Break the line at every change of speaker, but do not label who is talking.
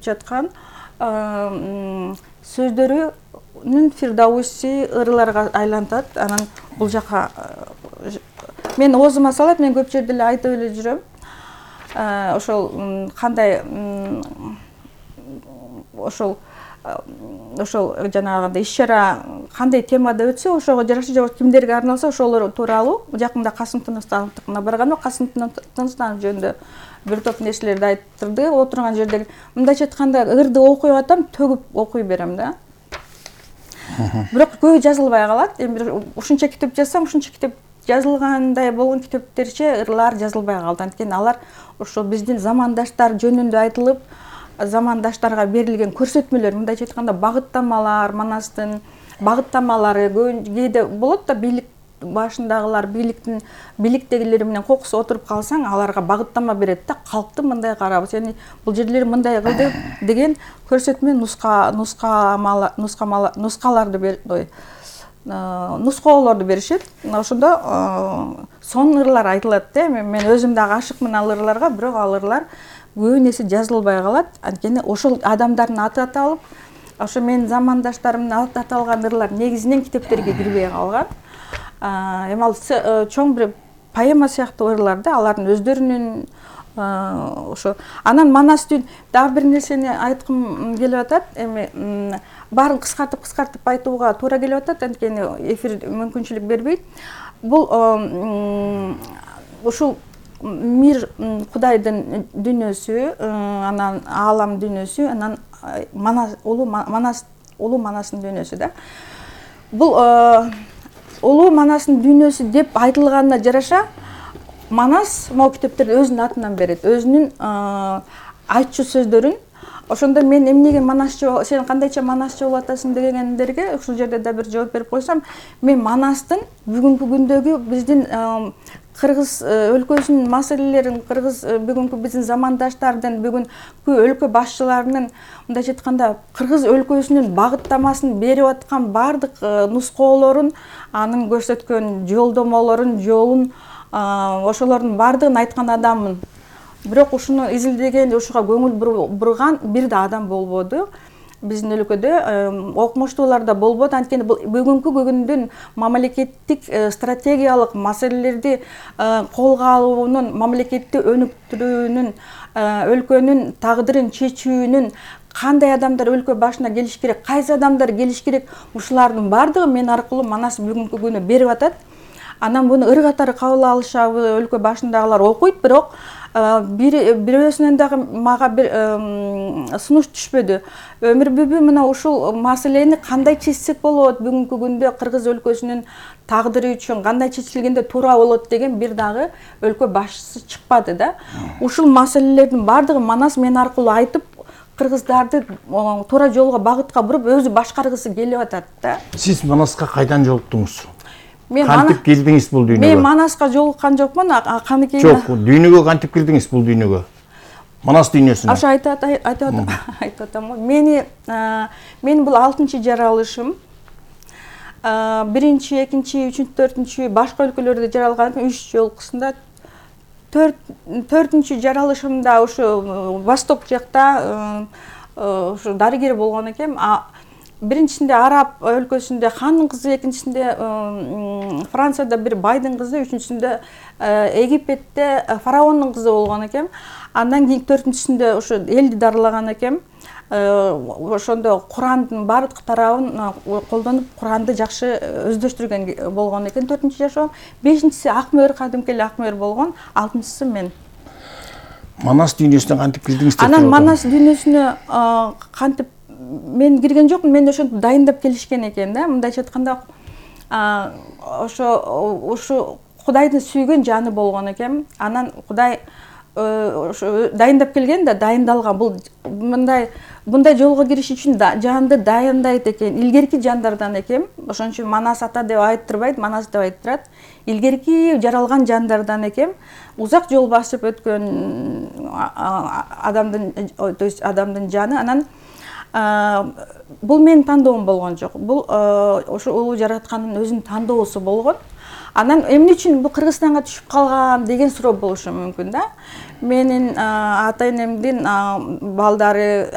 жаткан сөздөрүнүн фирдауси ырыларга айлантат. Анан бул жака мен оозума салат, мен көп жерде эле айтып эле жүрөм. Ошол кандай ошол жанагындай иш-чара кандай темада өтсө, ошого жараша же кимдерге арналса ошолор тууралуу. Жакында Касым Тыныстановдукуна барганда Касым Тыныстанов жөнүндө бир топ нерселерди айтырды. Отурган жерде мындайча айтканда ырды окуй атам, төгүп окуй берем да. Бирок көбү жазылбай калат. Эми ушунча китеп жазсам, ушунча китеп жазылгандай болгон китептерче ырлар жазылбай калды. Анткени алар ошо биздин замандаштар жөнүндө айтылып, замандаштарга берилген көрсөтмөлөр, мындайча айтканда багыттамалар, Манастын багыттамалары кээде болот да, бийлик башындагылар, бийликтегилер менен кокус отуруп калсаң, аларга багыттама берет да, калкты мындай карап, сени бул жерлер мындай кылды деген көрсөтмө нускоолорду беришет. Ошондо сонун ырлар айтылат да. Мен өзүм дагы ашыкмын ал ырларга, бирок ал ырлар көбү нерсе жазылбай калат. Анткени ошол адамдардын аты аталып, ошо менин замандаштарымдын аты аталган ырлар негизинен китептерге кирбей калган. Эми ал чоң бир поэма сыяктуу ырлар да, алардын өздөрүнүн ошо. Анан Манастын дагы бир нерсени айткым келип атат. Эми баарын кыскартып айтууга туура келип атат, анткени эфир мүмкүнчүлүк бербейт. Бул ушул мир Кудайдын дүйнөсү, анан аалам дүйнөсү, анан улуу Манастын дүйнөсү да. Бул улуу Манастын дүйнөсү деп айтылганына жараша Манас могу китептерди өзүнүн атынан берет, өзүнүн айтчу сөздөрүн. Ошондо мен эмнеге Манасчы, сен кандайча Манасчы болуп атасың дегендерге ушул жерде да бир жооп берип койсом, мен Манастын бүгүнкү күндөгү биздин Кыргыз өлкөсүнүн маселелерин, бүгүнкү биздин замандаштардын, бүгүнкү өлкө башчыларынын мындайча айтканда Кыргыз өлкөсүнүн багыттамасын берип аткан баардык нускоолорун, анын көрсөткөн жолдомолорун, жолун, ошолордун баардыгын айткан адаммын. Бирок ушуну изилдеген, ушуга көңүл бурган бир да адам болбоду. Биздин өлкөдө окумуштуулар да болбоду. Анткени бул бүгүнкү күндүн мамлекеттик стратегиялык маселелерди колго алуунун, мамлекетти өнүктүрүүнүн, өлкөнүн тагдырын чечүүнүн кандай адамдар өлкө башына келиш керек, кайсы адамдар келиш керек, ушулардын баардыгы мен аркылуу Манас бүгүнкү күнү берип атат. Анан буну ыр катары кабыл алышабы, өлкө башындагылар окуйт, бирок бирөөсүнөн дагы мага бир сунуш түшпөдү. Өмүр бүбү мына ушул маселени кандай чечсек болот, бүгүнкү күндө Кыргыз өлкөсүнүн тагдыры үчүн кандай чечилгенде туура болот деген бир дагы өлкө башчысы чыкпады да. Ушул маселелердин баардыгы Манас мен аркылуу айтып, кыргыздарды туура жолго багытка буруп өзү башкаргысы келип атат да.
Сиз Манаска кайдан жолуктуңуз?
Кантип
келдиңиз бул дүйнөгө?
Мен Манаска жолуккан жокмун, каныкей.
Жок, дүйнөгө кантип келдиңиз бул дүйнөгө? Манас дүйнөсүнө.
Ошо айтып атам го. Мен бул 6-чы жаралышым. 1-чи, 2-чи, 3-чү, 4-чү башка өлкөлөрдө жаралган 3 жолкусунда 4-чү жаралышымда ушу Восток жакта ушу дарыгер болгон экем. Биринчисинде Араб өлкөсүндө хандын кызы, экинчисинде Францияда бир байдын кызы, үчүнчүсүндө Египетте фараондун кызы болгон экем. Андан кийин 4-чүсүндө ушу элди дарылаган экем. Ошондо Курандын баардык тарабын колдонуп, Куранды жакшы өздөштүргөн болгон экен 4-чү жашоом. 5-чиси Акмөр, кадимкеле Акмөр болгон, 6-чысы мен.
Манас дүйнөсүнө кантип кирдиңиз деп?
Анан Манас дүйнөсүнө кантип мен кирген жокмун, мен ошентип дайындап келишкен экен да. Мындайча айтканда ушу Кудайдын сүйгөн жаны болгон экен. Анан Кудай ошо дайындап келген да, дайындалган. Бул мындай жолго кириш үчүн жанды дайындайт экен. Илгерки жандардан экен. Ошон үчүн Манас ата деп айттырбайт, Манас деп айттырат. Илгерки жаралган жандардан экен. Узак жол басып өткөн адамдын жаны. Анан бул менин тандоом болгон жок. Бул ошо улуу жараткандын өзүнүн тандоосу болгон. Анан эмне үчүн бул Кыргызстанга түшүп калган деген суроо болушу мүмкүн да. Менин ата энемдин балдары